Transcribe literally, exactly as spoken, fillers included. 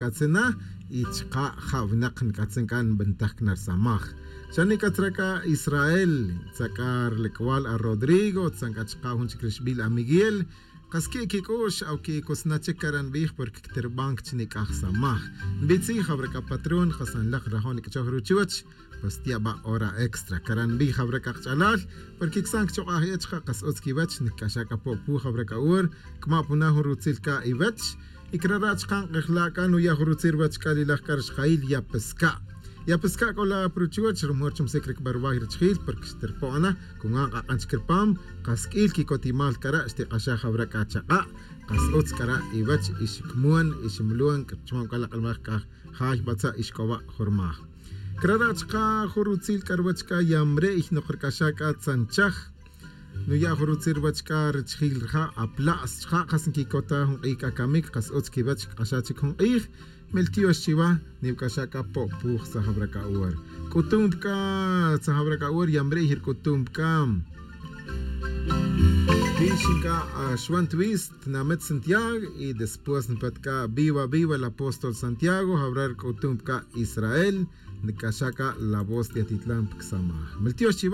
nc'atzin na. Y chka' ja' winak nc'atzin c'a nbantaj cana risamaj. Xa nic'atzra c'a israel, tzak'a rilec'wal a rodrigo, tzan c'a chka' jun chic rixbil a miguel. Kas qui' quic'u'x awqui'cosna chic cara' nbij porque quiterban chi nic'aj samaj. Nbitzij jawra c'a patrón jasanlak rajo' nic'achoj ruchuch. Pues tiaba' hora extra cara' nbij jawra c'a kach'alal. Porque csan cchok'aj ech ja' kas utz quiwech nic'axa c'a po'pu jawra c'a hora. Cma' puna jun rutzil c'a iwech. Y crara' chka' nk'ejla' c'a nuya' jun rutzil ruwech c'a lilaj c'a rixjayil ya pesca'. Ya pesca' c'o la' pa ruchuwech rumor chumsic ricba ruway richijil porque xtirpo'na. Cungan k'ak'an chic ripam. Kas q'uil quicotimal cara' xtik'axaj awra c'a chaka'. Kas utz cara' iwech ixicmon iximlon chuman c'a la k'almaj c'a jay batza' ixc'oba' jurmaj. Crara' chka' jun rutzil c'a ruwech c'a yamre'y nok ric'axa c'a tzanchaj. Nuya' jun rutzil ruwech c'a richijil rija' apla's chka' kas nquicota jun k'ij c'a camic kas utz quiwech c'a xa chic jun k'ij. Meltiox chiwa. Niwc'axa c'a po'puj tzajawra c'a hora. C'utum pc'a tzajawra c'a hora yamre'y ric'utum pc'a. Rixin c'a axwan twis tnamit santiago y después npet c'a viva viva el apóstol santiago jawra ric'utum pc'a israel. Nic'axa c'a la voz tiatitlan pcsamaj meltiox chiwa.